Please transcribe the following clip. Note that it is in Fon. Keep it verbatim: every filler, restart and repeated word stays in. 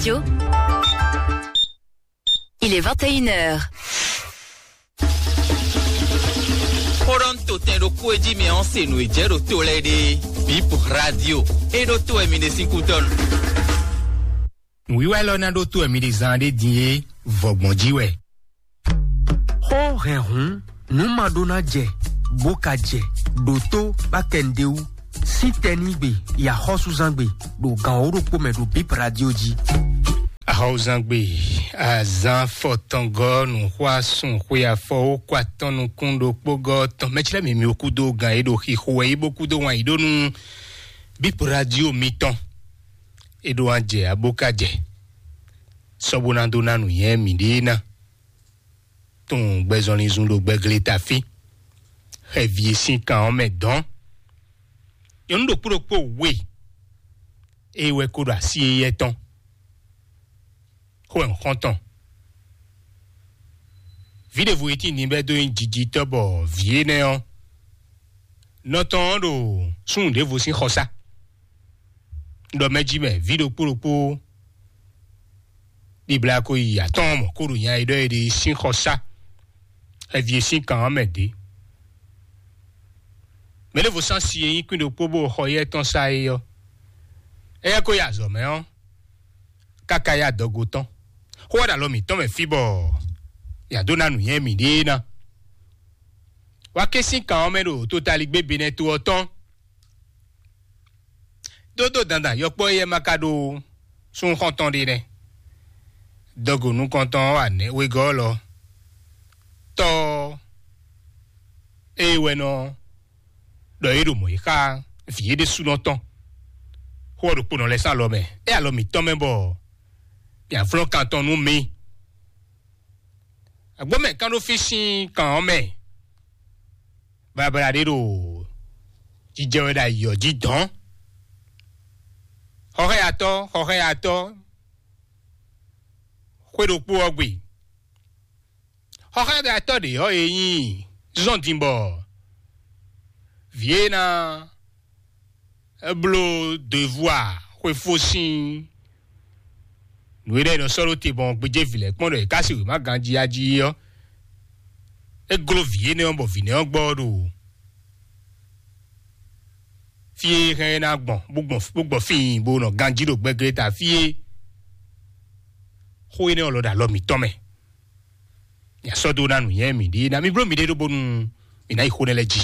Radio. Il est vingt et une heures. Xó ɖɔ un to tɛn ɖokpó e jí mɛ ɔ́ se nǔ e jɛ ɖo to lɛ́ɛ ɖe. Bip Radio. E ɖo to wɛ mi ɖe sín kútɔ́ nu. Nǔwiwa élɔ́ ná ɖótó wɛ mi ɖe zán ɖé din é, vɔgbɔn jí wɛ. Xó hɛn hǔn, nǔ ma ɖó ná jɛ, bó ka jɛ, ɖo tó bá kɛ nǔɖé wú. Sín tɛnígbe, yi axɔ́súzángbe, ɖo gan wǒ ɖokpó mɛ ɖo Bip Radio jí. Axɔ́súzángbe, azán fɔtɔngɔ́ nǔxwá sun xwe afɔ ó kó atɔ́ nukún ɖokpó gɔ́ tɔn mɛ̌ clɛ́ mǐ mì kúdó gan e ɖo xixo wɛ yí bó kúdó wan yǐ ɖó nú Bip Radio mitɔn. É ɖó wá jɛ abó ka jɛ, sɔ́ bó ná dó ná nǔnywɛ́ mǐɖée ná. Tunwun gbɛzɔnlin zun ɖo gbɛgleta fí. Xɛvi e sín kan ɔ́ mɛ dɔn. Nyɔ̌nu ɖokpó ɖokpó we, é wɛ ko ɖo así éyɛ́ tɔn. Xó wɛ un xɔ́n tɔn. Vǐ ɖěvo e tíin din bɛ́ dó nyí jijitɔ́ bɔ vǐ énɛ́ ɔ́, nɔ tɔn ɔ́ ɖo súnnu ɖěvo sín xɔsá. Ɖɔ mɛ jí mɛ vǐ ɖokpó ɖokpó bibla ko yi atɔ́ɔ́n mɔ̌ kó ɖo nya e ɖɔ é ɖe sín xɔsá. Xɛvi e sín kan ɔ́ mɛ dě. Mɛ ɖěvo sán si e nyí kwín ɖokpó bó xɔ yɛ tɔn sá é ɔ́, éyɛ́ ko yi azɔ̌ mɛ ɔ́, káká yi adɔgo tɔn. Xó wá ɖo alɔ mǐtɔn mɛ fí bɔ mǐ dó ná nǔnywɛ́ mǐɖée ná. Wá ké sín kan ɔ́ mɛ ɖo totaligbé Benɛto ɔ́ tɔn. Dódó dandan yɔkpɔ́ éyɛ́ ma ka ɖó súnxɔ́ntɔn ɖé nɛ́. Dɔgo nukɔntɔn ɔ́ wa nɛ̌ wegɔ́ lɔ. Tɔ́ ɔ́, ée wɛ nɔ ɖɔ é ɖo mɔ̌ yi xá vǐ é ɖésúnɔ tɔn. Xó ɔ́ ɖokpónɔ lɛ́ɛ sín alɔ mɛ, é alɔ mǐtɔn mɛ bɔ mǐ avlɔ́ kan tɔn nú mì. Agbɔ́mɛ kán ɖó fí sín kan ɔ́ mɛ. Babla ɖé ɖo jijɛ wɛ ɖo ayǐ ɔ́ jí dɔn. Xɔxɛ́yatɔ́, xɔxɛ́yatɔ́, xwé ɖokpó ɔ́ gbe. Xɔxɛ́yatɔ́ ɖě ɔ́, e nyí zɔ́n din bɔ vǐ e ná bló devoir xwefó sín nǔ e ɖɔ è nɔ sɔ́ ɖó te gbɔn gbéjé vǐ lɛ́ɛ kpɔ́n ɖɔ è ká se wěma ganjí ají ɔ́, é gló vǐ énɛ́ ɔ́ bɔ vǐ nɛ́ ɔ́ gbɔ ɔ́ ɖo fí e hɛn ɛ ná gbɔn bó gbɔn bó gbɔ fíin bó nɔ ganjí ɖo gbɛglé ta fí e xó énɛ́ ɔ́ lɔ ɖo alɔ mǐtɔn mɛ. Mǐ sɔ́ dó ná nǔnywɛ́ mǐɖée ná mì bló mǐɖée ɖó bónú mǐ ná yi xó nɛ́ lɛ́ɛ jí.